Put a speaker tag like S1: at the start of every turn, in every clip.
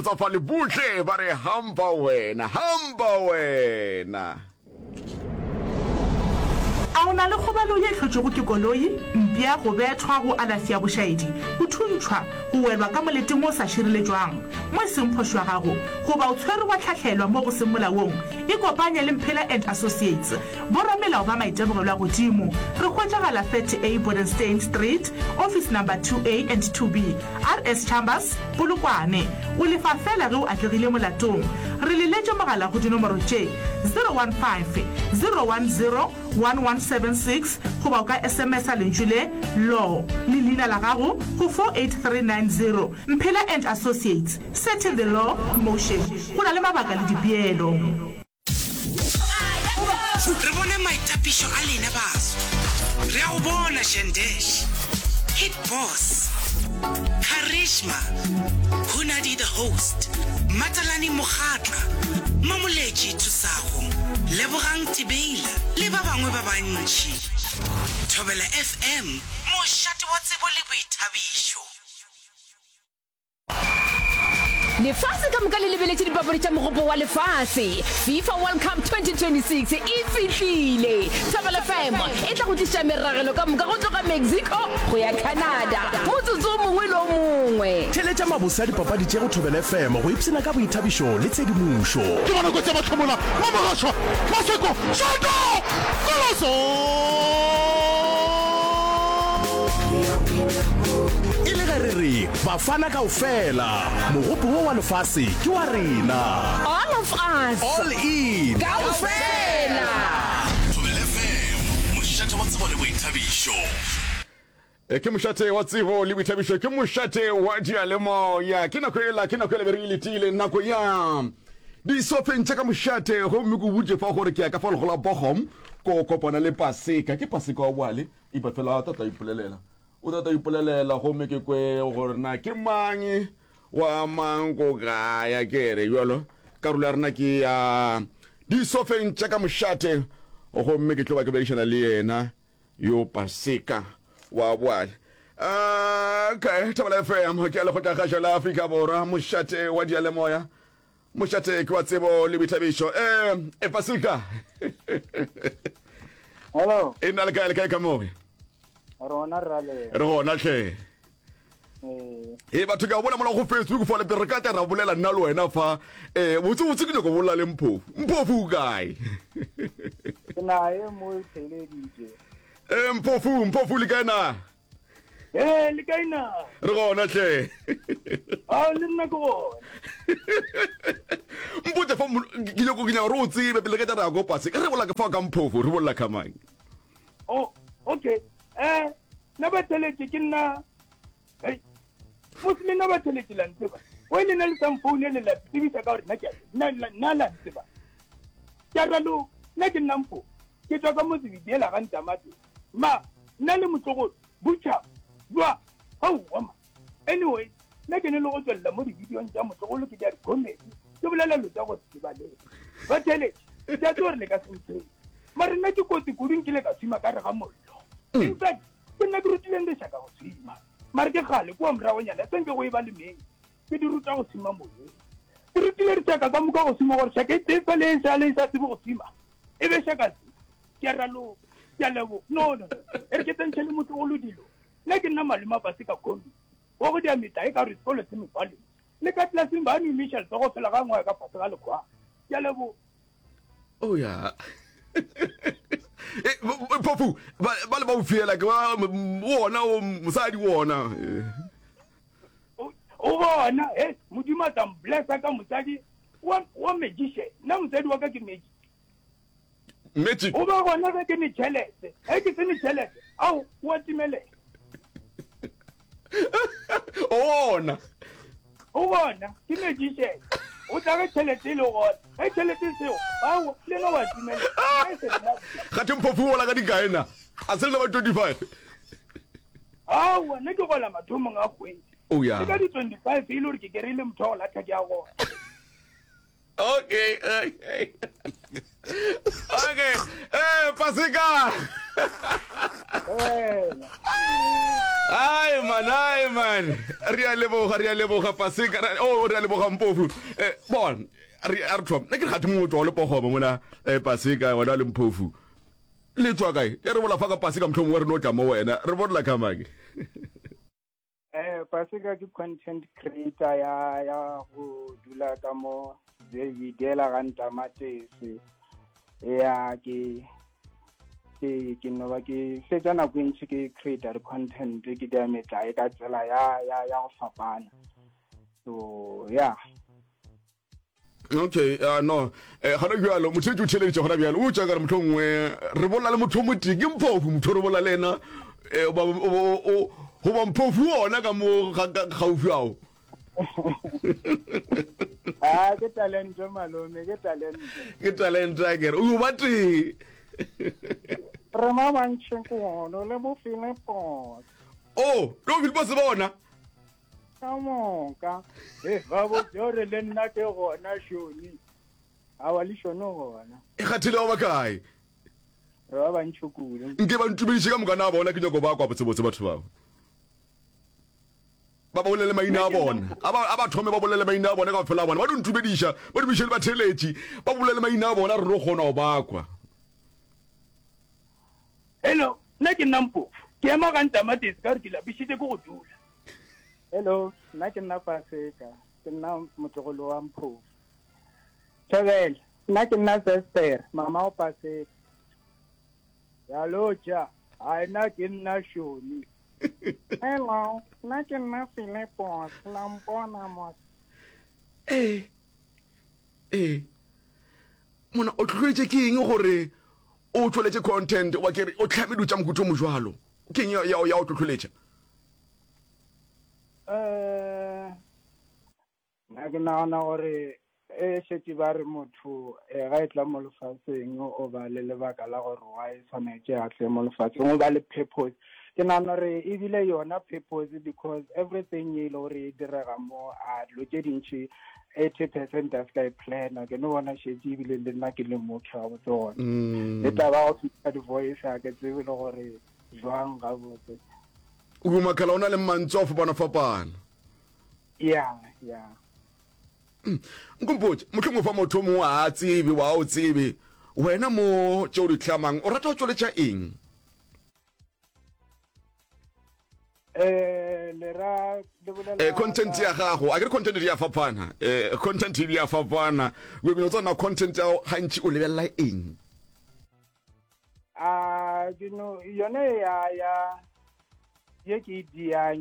S1: Tsafale buhle ba re hamba wena, hamba wena.
S2: A o na le kgobalo ye e hlotšwego ke koloi, mpša, go bethwa, go alafša bošaedi, go thuntšhwa, go welwa ka moleteng wo o sa šireletšwang, mo e seng phošo ya gago, goba o tshwerwe wa hlahlelwa mo go seng molaong? Ikopanye le Mphela and Associates, boramelao ba maitemogelo a godimo. Re hwetšagala 30A Bodenstein Street, Office Number 2A and 2B, RS Chambers, Polokwane. O lefa feela ge o atlegile molatong. Re leletše mogala go dinomoro tše, 015 010 1176 goba o ka SMS-a lentšu le, Law, le leina la gago go 48390. Mphela and Associates, setting the law motion. Go na le mabaka le dipeelo.
S3: Re bone maitapišo a lena baso. Re a go bona Shandesh, Hit Boss, Charisma, Hunadi the Host, Matalane Mokgatla, Mamoletši Thusago, Lebogang Tibeila le ba bangwe ba bantši. Thobela FM, mošate wa tsebo le boithabišo.
S4: Lefase ka moka le lebeletše dipapadi tša Mogopo wa Lefase. FIFA World Cup 2026 e fihlile! Thobela FM e tla go tliša meragelo ka moka go tloga Mexico go ya Canada motsotso o mongwe le o mongwe.
S5: Theeletša mabose a dipapadi tše go Thobela FM go ipshina ka boithabišo le tshedimošo.
S6: Ke bona kotsi ya mahlomola, Mamogašwa, Maseko, Šoto, Koloso!
S5: E le ge re re Bafana kaofela, mogopo wo wa lefase ke wa rena.
S4: All of us.
S5: All in.
S4: Kaofela.
S7: Thobela FM, mošate wa tsebo le boithabišo.
S1: E, ke mošate wa tsebo le boithabišo, ke mošate wa diyalemoya. Ke nako ela, ke nako ela be re e letile, nako ya disofeng tša ka mošate. Gomme ke o botše fa gore ke ya ka fa legola Bochum ko kopana le Paseka. Ke Paseka wa boale, ipa fela tata ipolelela. O tla tla ipolelela gomme ke kwe gore na ke mang wa mang ko kae. A ke re bjalo, karolo ya rena ke ya disofeng tša ka mošate gomme ke tlo ba ke boledišana le yena yo Paseka wa boale. Okay, Thobela FM ke ya Lekgotlakgašo la Afrika Borwa, mošate wa diyalemoya. Mošate ke wa tsebo le boithabišo. Eh, e Paseka.
S8: Hello.
S1: E nna le kae le kae ka moe?
S8: Rona rale.
S1: Re gona tlhe.
S8: Eh.
S1: E batho ke a bona mola go Facebook fa le re ka tla ra bolela nna le wena fa. Eh, botse botse ke nyoko bolela le Mphofu. Mphofu o kae?
S8: Ke nae mo theleditše.
S1: Eh, Mphofu, Mphofu le kae na?
S8: Ee, le kae na?
S1: Re gona hle.
S8: A le nna ke gona.
S1: Mpotse fa ke nyako ke nyaka gore o tsebe pele ke tla re ya ko pase. Re bolela ka fa ka Mphofo, re bolela ka mang?
S8: Oh, okay. Eh, nna ba theletše ke nna. Hey. Mos le nna ba theletše la ntseba. O le nna le sa mfoune le la tsebisa ka gore nna ke nna nna la ntseba. Ke a raloka. Nna ke nna Mphofo. Ke tswa ka motse Bidiela ga Ntamate. Ma, nna le motlogolo, Butcher, jwa, aowa ma. Anyway, nna ke ne le go tswelela mo dibidiong tša motlogolo ke dira di-comedy, ke bolela lo tša go se tsebalege. Ba theeletše, ke a tseba gore le ka se ntshepe. Mare nna ke kotsi kudu nkile ka swima ka re ga mollo. In fact, ke nna ke rutileng lešaka go swima. Mare ke kgale kua moragonyana se nke go e ba le meng, ke di ruta go swima moyeng. Ke rutile dishaka ka moka go swima gore shaka e tee fela e sa le e sa tsebe go swima, e be shaka tse. Ke a raloka. Ke a leboga. No, no, no. E re ke tsentšhe le motlogolo dilo. Nna ke nna malome a Paseka Kombi. Wa go dia metlae ka gore sekolo se mefaleng. Le ka tlelaseng ba no imiša letsogo fela ga ngwaga ka fase ga lekgwa. Ke a leboga.
S1: Oh ya. Eh, Phofu, ba ba le ba o fiela ke ba wona o mosadi wona.
S8: O o bona, he, Modimo a tla mblessa ka mosadi wa wa magician. Nna mosadi wa ka ke magic.
S1: Magic.
S8: O ba gona ge ke ne tšhelete. Ge ke se ne tšhelete, ao, o a timelela.
S1: O ona.
S8: O bona, ke magician. O tla ge tšhelete e le gona. Ge tšhelete e seo, ao, le yena o a timelela. Nna e se nna.
S1: Gathe Mphofu o gola ka dikae na? A se le ba 25?
S8: Aowa, nna ke gola mathomong a kgwedi.
S1: Oh ya.
S8: Ke ka di 25 e le gore ke kry-ile motho wa go latlha ke a gola.
S1: Okay, okay. Okay. Eh, Paseka. Ai man, ai man. Re a leboga, re a leboga Paseka. Oh, re a leboga Mpofu. Eh, bon, re a re thoma. Nna ke re gathe mongwe o tswa le pogoma mola eh Paseka wena le Mpofu. Le tswa kae? E re bola fa ka Paseka mohlomongwe re no tla mo wena. Re bolela ka mang?
S8: Eh, Paseka ke content creator ya ya go dula ka mo Belvedere ga Ntamatese. Ya ke ke ke no ba ke fetsa nako e ntši ke creator content ke dia metlae ka tsela ya ya ya go fapana. So yeah.
S1: Okay, uh, no. Eh, gona bjalo, motho o theleditše gona bjalo. O tša ka re motho nngwe re bolela le motho o motee, ke mphofu motho re bolela le yena. Eh, ba o o goba mphofu ona ka mo gaufi ao.
S8: Ah, ke talente malome, ke talente.
S1: Ke talente a kere. O ba tee.
S8: Re ba bantši kudu le bo Philipos.
S1: Oh, le bo Philipos bona.
S8: Ka moka. E ba botse gore le nna ke gona Shoni. Awa le Shoni gona.
S1: E kgathile ba bakae?
S8: Re ba bantši kudu.
S1: Nke ba ntumediše ka moka na bona ke nyako ba kwa botsebotse batho bao. Ba ba bolele maina a bona. A ba a ba thome ba bolele maina a bona ka fela bona. Ba di ntumediša, ba dumiše le batheeletši. Ba bolele maina a bona re no kgona go ba kwa.
S8: Hello, nna ke nna Mpofu. Ke ema ga Ntamatesi ka gore ke lapišitše ke go dula. Hello, nna ke nna Paseka. Ke nna motlogolo wa Mphofu. Thobela, nna ke nna Zester, mama wa Paseka. Ya lotša, hai nna ke nna Shoni. Hello, nna ke nna Philipos, la mpona mos.
S1: Ee, ee. Mona o tlhoetše ke eng gore o tšweletše content wa ke re o tlhame dilo tša mohuta o mojwalo? Ke eng ya ya o tlhohloletša?
S8: Eh, nna ke nagana gore e šetše ba re motho eh, ga e tla mo lefaseng o ba le lebaka la gore why tshwanetše a tle mo lefaseng o ba le purpose ke nagana gore ebile yona purpose because everything e le gore e direga mo a dilo tše dintši 80 percent a se ka e plana ke no bona šetše ebile le nna ke le motho gabotse gona mm. le taba go fihla di-voice a ke tsebe le gore jwang gabotse
S1: o makala o na le mantswe a fapana-fapana
S8: ya ya
S1: mm. nkompotše mohlomongwe fa motho o mongwe a tsebe wa o tsebe wena mo tše o di hlamang o rata go tšweletša eng
S8: eh le ra le bolela
S1: eh content ya gago a ke re content di ya fapana eh content di ya fapana o bino tsona content ya gantši o lebelela eng
S8: A ke no yone ya ya ye ke e diang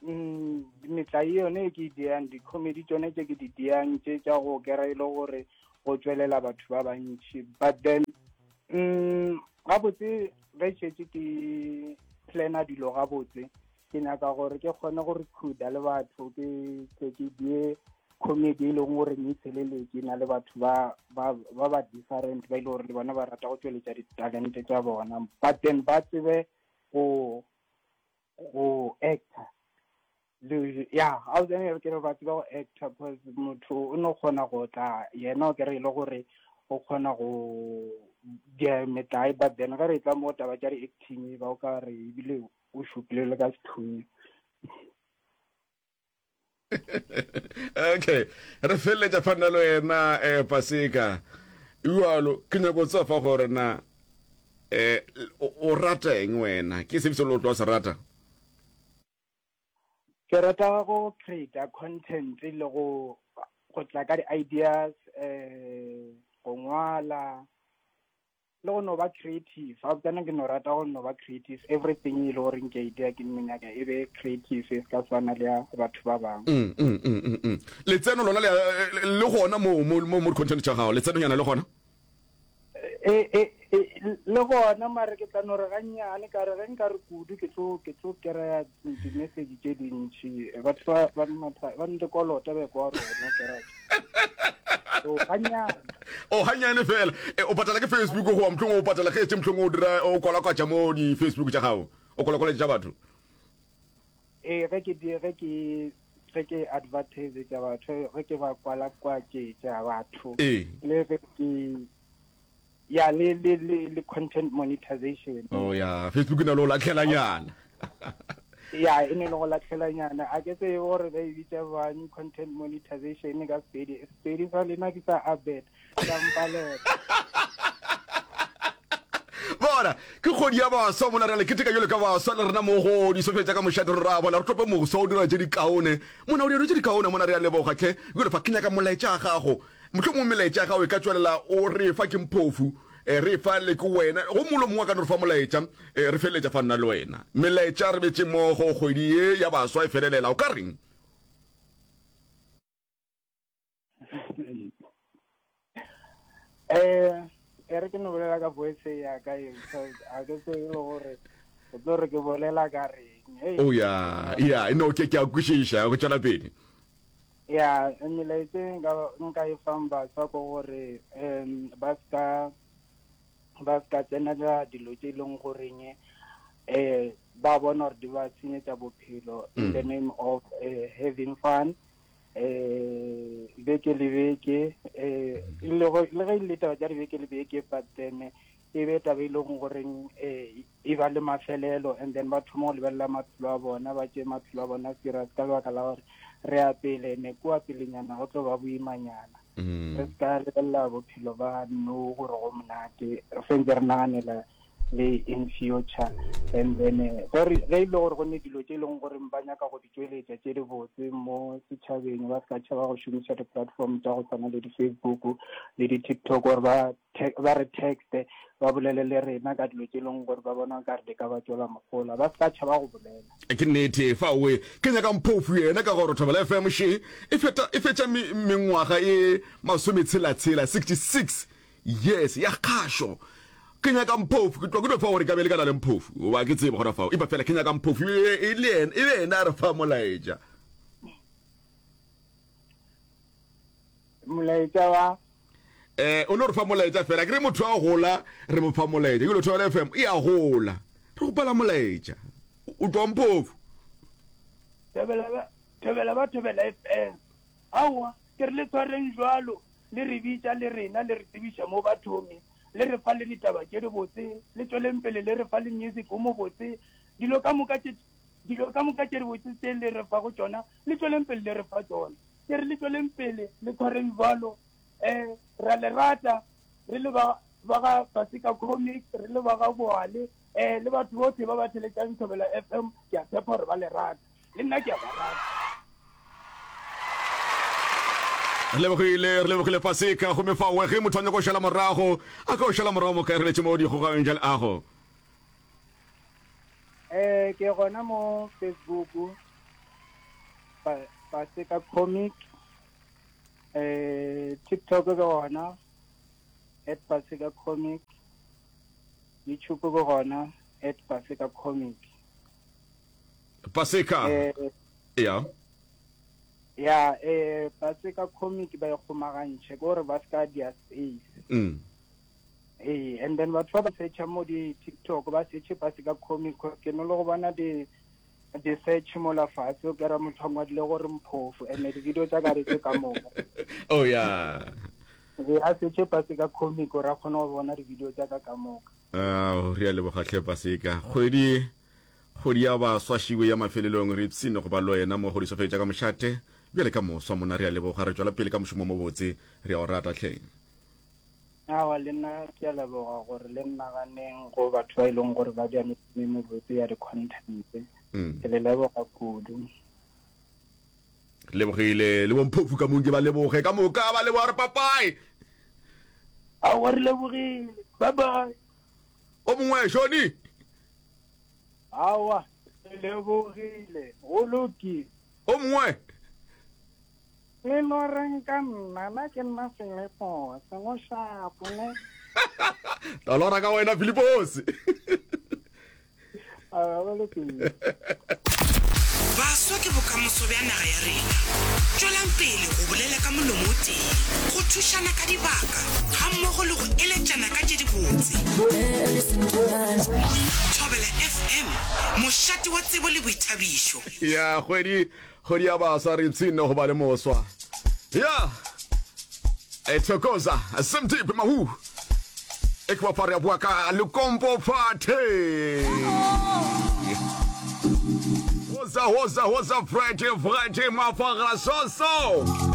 S8: mm, metlae yone e ke e diang di-comedy tsone tse ke di diang tse tša go kera e le gore go tšwelela batho ba bantši but then mm, gabotse ge šetše ke plana dilo gabotse ke nyaka gore ke kgone go recruita le batho ke ke ke die comedy e leng gore ne feleletše na le batho ba ba ba ba different ba ile e gore le bona ba rata go tšweletša ditalente tša bona but then ba tsebe go go actor le ya a o tsene ke re ba tseba go actor because motho o no kgona go tla yena o kere e le gore o kgona go dia metlae but then ge re tla mo taba tša di-acting ba o ka re ebile o šupile le ka sethunya
S1: okay re feleletša fana le wena um paseka jalo ke nyako tsa fa gore na um o rata eng wena ke sefe se le o tlo se rata
S8: ke rata go create content le go go tla ka di-ideas um go ngwala le go no ba creative ga botsana ke no rata go no ba creative everything e le goreng ke idea ke nno nyaka e be creative e se ka swana le ya batho ba bangwe
S1: mm, mm, mm, letseno lona le gona mo mo mo content tša gago letsenonyana le gona
S8: e, e, e, le gona mare ke tla no re gannyane ka re ge nka re kudu ke tlo ke tlo kry-a di-message tše dintšhi batho ba ba nte kolota be kwa rona kereke so ganyane
S1: o ganyane fela e, o patala ke facebook goba mohlong o patala ge tše mohlong o dira o kwalakwatša mo di-facebook tša gago o kwalakwaletša tša batho
S8: ee ge ke ge ke
S9: ge ke advertisetša batho ge ke ba kwalakwatšetša batho
S1: Ee.
S9: le ge ke ya le le le le content monetization.
S1: Oh ya, Facebook e na le go latlhelanyana.
S9: Ya e ne le go latlhelanyana. A ke tsebe gore ba e bitša bjang content monetization ka Sepedi. Sepedi sa lena ke sa Abet, sa mpalela.
S1: Bona, ke kgwedi ya baswa mona, re a le keteka bjalo ka baswa le rena mo go disofeng tša ka mošate, re ra bona re tope moswa o dira tše dikaone mona, o dira tše dikaone mona, re a leboga hle. Bjalo fa ke nyaka molaetša wa gago, mohlomongwe melaetša ya gago e ka tšwelela o re fa ke Mphofu, eh, re fa le ke wena, go mongwe le mongwe a ka no re fa molaetša, eh, re feleletša fa nna le wena. Melaetša re betše mmogo kgwedi ye ya baswa e felelela, o ka reng?
S9: Eh, e re ke no bolela ka voice ya ka e because a ke tsebe le gore o tlo re ke bolela ka reng. Hey.
S1: Oh ya, ya, no ke ke a kwešiša, go tšwela pele.
S9: Ya, melaetša e nka nka e fang baswa ke gore um ba ska ba ska tsenela dilo tše e leng goreng eh ba bona gore di ba senyetša bophelo in the name of uh, having fun. eh beke le beke eh le go le ge le taba tša dibeke le beke but then e be taba e leng goreng eh e ba le mafelelo and then ba thoma go lebelela maphelo a bona ba tšee maphelo a bona serious ka lebaka la gore re ya pele ne kua pelenyana go tlo ba boimanyana mm. re se ka lebelela bophelo ba no gore go monate re sentse re naganela le in future and then eh, ge e le gore go ne dilo tše e leng gore ba nyaka go di tšweletša tše di botse mo setšhabeng ba se ka tšhaba go šomiša di-platform tša go tshwana le di-facebook le di-tiktok gore ba ba re texte ba bolele le rena ka dilo tše e leng gore ba bona ka re di ka ba tšwela mogola ba se ka tšhaba go bolela
S1: ke nnete fa oe ke nyaka mphofu yena ka gore thobela fm she e feta e fetša mengwaga e masometshela-tshela 66 Yes, ya kgašo. Ke nyaka Mphofu, ke tloga ke no fa gore ka be le ka na le Mphofu. Goba ke tsebe gona fao. Empa fela ke nyaka Mphofu e, e le yena, e be yena a re fa molaetša.
S9: Molaetša wa?
S1: Eh, o no re fa molaetša fela. Ke re motho a gola, re mo fa molaetša. Ke lo Thobela FM e a gola. Re gopela molaetša. O tloga Mphofu.
S8: Thobela ba, Thobela ba Thobela FM. Aowa, ke re le tshwareng jwalo. Le re bitša le rena, le re tsebiša mo bathong, le re fa le ditaba tše dibotse, le tšweleng pele le re fa le music o mobotse, dilo ka moka tše, dilo ka moka tše dibotse tše le re fago tšona, le tšweleng pele le re fa tšona. Ke re le tšweleng pele le tshwareng bjalo. Um, re a le rata, re le ba, ba ga Paseka Comics, re le ba ga Boale, um le batho bohle ba ba theletšang Thobela FM, ke a tshepa gore ba le rata. Le nna ke a ba rata.
S1: Re lebogile, re lebogile Paseka. Gomme fao ge motho a nyaka go šala morago, a ka o šala morago mo kae? Re letše mo dikgogong tša leago.
S9: Eh, ke gona mo Facebook, Paseka Comic, eh, TikTok ke gona, at Paseka Comic, YouTube ke gona, at Paseka Comic.
S1: Paseka.
S9: Eh,
S1: ya.
S9: Ya, eh, Paseka Comic ba e kgomagantšhe, ke gore ba se ka dia space.
S1: Mm.
S9: Ee, and then batho ba ba searcha mo di TikTok ba searche Paseka Comic, cause ke no le go bona di di search mola fatshe o kera motho a ngwadile gore mphofu and di-video tša ka di tse ka moka.
S1: Oh ya.
S9: Ee, a searche Paseka Comic gore a kgone go bona di-video tša ka ka moka.
S1: Ao, re a leboga hle Paseka. Kgwedi Kgwedi ya baswa šiwe ya mafelelong re ipshine go ba le wena mo go disofeng tša ka mošate bjale ka moswa monna re a leboga re tšwela pele ka mošomo mo botse re a o rata hleng.
S9: Aowa le nna ke a leboga gore le nnaganeng go batho ba e leng gore ba dira mešomo e mebotse ya di-content. Ke le leboga kudu.
S1: Re lebogile le bomphofu ka mong ke ba leboge ka moka ba leboga re papae.
S8: Aowa re lebogile. Bye bye.
S1: O mongwe Shoni.
S9: Aowa, ke lebogile. Go lokile.
S1: O mongwe.
S9: Le no reng ka nna? Nna ke nna Filipose, go shapo ne.
S1: Tla lora ka wena Filipose.
S9: Aowa, go lokile.
S3: Baswa ke bokamoso bja naga ya rena. Tšwelang pele go bolela ka molomo o tee, go thušana ka dibaka gammogo le go eletšana ka tše dibotse. Thobela FM, mošate wa tsebo le boithabišo.
S1: Ya kgwedi. Kgwedi ya baswa re ipshinne go ba le moswa. Ya. E thokoza Semdeep Mahu. E ke ba re bua ka Lekompo Party. Woza woza woza Friday Friday mafara so so.